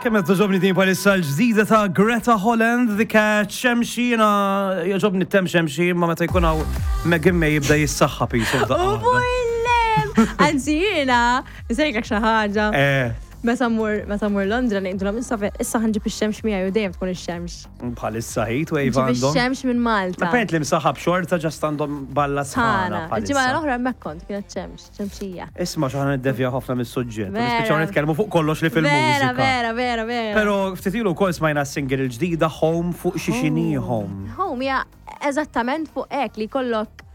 Kemm qed toġobni din bħalissa l-ġdida ta' Greta Holland, The Catch, Xemxi, jiena jogħġobni t-tem xemxi, imma meta jkun hawn Megan May jibda jissaħħa pisu f'daqqa. U bullem! Anzi jiena, nsejlek xi ħaġa. Eh. Meta mmur meta mmur Londra ngħidulhom issa issa ħa nġib ix-xemx miegħi u dejjem tkun ix-xemx. Bħalissa heat wave għandhom. Ix-xemx minn Malta. Apparently msaħab xorta ġast għandhom balla sħana. Il-ġimgħa l-oħra hemmhekk kont kienet xemx, xemxija. Isma' x'aħna niddevjaw ħafna mis-suġġett. Nispiċċaw nitkellmu fuq kollox li fil-mużika. Vera, vera, vera. Però ftit ilu wkoll smajna s-single il-ġdida Home fuq xi xini Home. Home hija eżattament fuq hekk li jkollok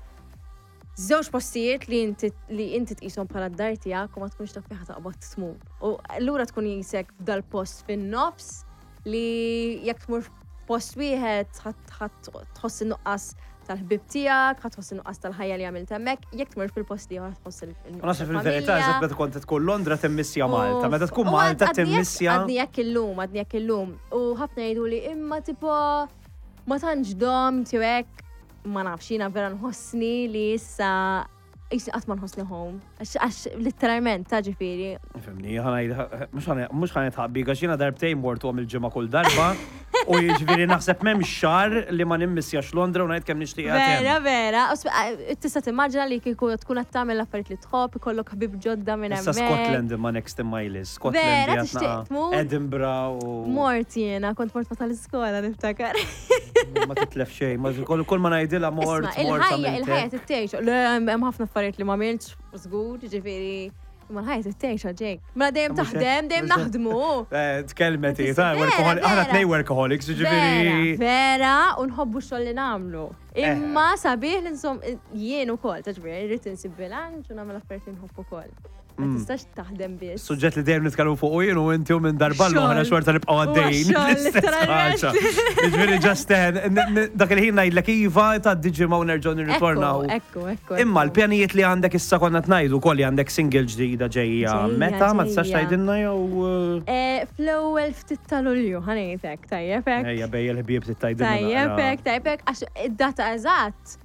żewġ postijiet li inti li inti tqishom bħala d-dar tiegħek u ma tkunx taf fejn taqbad tmur. U allura tkun jisek f'dal-post fin-nofs li jekk tmur f'post wieħed tħoss in-nuqqas tal-ħbib tiegħek, ħa tħoss in-nuqqas tal-ħajja li għamilt hemmhekk, jekk tmur fil-post ieħor tħoss il-nuqqas. Naħseb fil-verità, eżatt meta kont tkun Londra timmissja Malta, meta tkun Malta timmissja. Għadni hekk illum, għadni hekk illum. U ħafna jgħidu li imma tipo ma tantx domt jew hekk ma nafx, jiena vera nħossni li issa jisni qatt ma nħossni home. Għax literalment, ta' ġifieri. Fimni, mhux ħa nitħabbi, għax jiena darbtejn mort għom il-ġimgħa kull darba. U jiġifieri naħseb m'hemm xahar li ma nimmissjax Londra u ngħid kemm nixtieq. Vera, vera. Tista' timmaġina li kieku tkun qed tagħmel l-affarijiet li tħobb, ikollok ħbieb ġodda minn hemmhekk. Issa Scotland imma next in my list. Scotland. Vera, tixtieq tmur. Edinburgh u. Mort jiena, kont mort ma tal-iskola niftakar. Ma titlef xejn, ma kull ma ngħidilha mort. Il-ħajja, il-ħajja tittejx. Le, hemm ħafna affarijiet li ma għamiltx, żgur, ġifieri. Ma l-ħajja tittejx ġejk. Mela dejjem taħdem, dejjem naħdmu. Eh, tkellmet hi, ta' aħna tnej workaholics, ġifieri. Vera, u nħobbu x-xogħol li nagħmlu. Eh. Imma sabiħ li nsom jien ukoll, ta' ġifieri, rrid insib bilanċ u nagħmel affarijiet li nħobb ukoll. Ma tistax taħdem biss. Suġġett li dejjem nitkellmu fuq u jien u inti u minn darba l-oħra xorta nibqgħu għaddejjin. Ġifieri just eh, dak il-ħin ngħidlek iva tgħaddi ġimgħa u nerġgħu nirritornaw. Ekku, ekku. Imma l-pjanijiet li għandek issa konna tnajdu wkoll li għandek single ġdida ġejja. Meta ma tistax tgħidilna jew eh? Eh, fl-ewwel ftit ta' Lulju ħanejtek, tajjeb hekk. Ejja bejja l-ħbieb tgħidilna. Tajjeb hekk, tajjeb hekk, għax id-data eżatt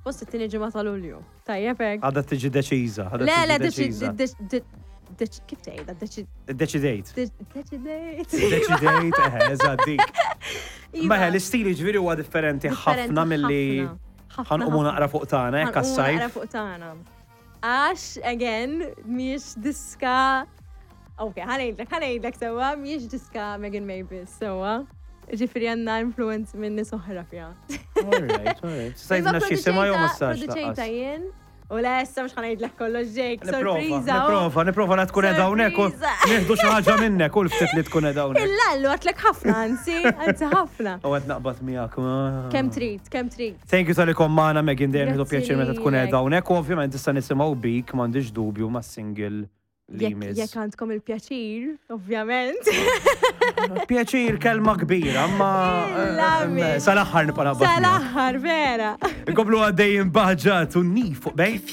Suppost it-tieni ġimgħa ta' Lulju. Tajjeb hekk. Għadha tiġi deċiża. Le, le, kif tgħidha? Deċidejt. Deċidejt. Deċidejt, eħe, eżatt dik. Ma l-istil ġifieri huwa differenti ħafna milli ħanqumu naqra fuq tagħna, hekk għas-sajf. Naqra fuq tagħna. Għax, again, mhijiex diska. Ok, ħanejdlek, ħanejdlek sewwa, mhijiex diska Megan May biss sewwa. Ġifieri għandna influence minn nies oħra fiha. Alright, alright. Stajtna xi sema jew ma stax. Produċejta jien. U le, issa mhux ħanejdlek kollox Jake, sorpriża. Niprofa, niprofa la tkun qiegħda hawnhekk u nieħdu xi ħaġa minnek u l-ftit li tkun qiegħda hawnhekk. Il-lallu għatlek ħafna, anzi, anzi ħafna. U qed naqbad miegħek. Kemm trid, kemm trid. Thank you tal-li kont magħna Megan dejjem nieħdu pjaċir meta tkun qiegħda hawnhekk u ovvjament issa nisimgħu bik m'għandix dubju mas-single li jmiss. Jekk għandkom il-pjaċir, ovvjament. Pjaċir kelma kbira, ma eh, sal-aħħar nibqa' Sal-aħħar, vera. Inkomplu għaddejjin baġġat u nif fuq bejt.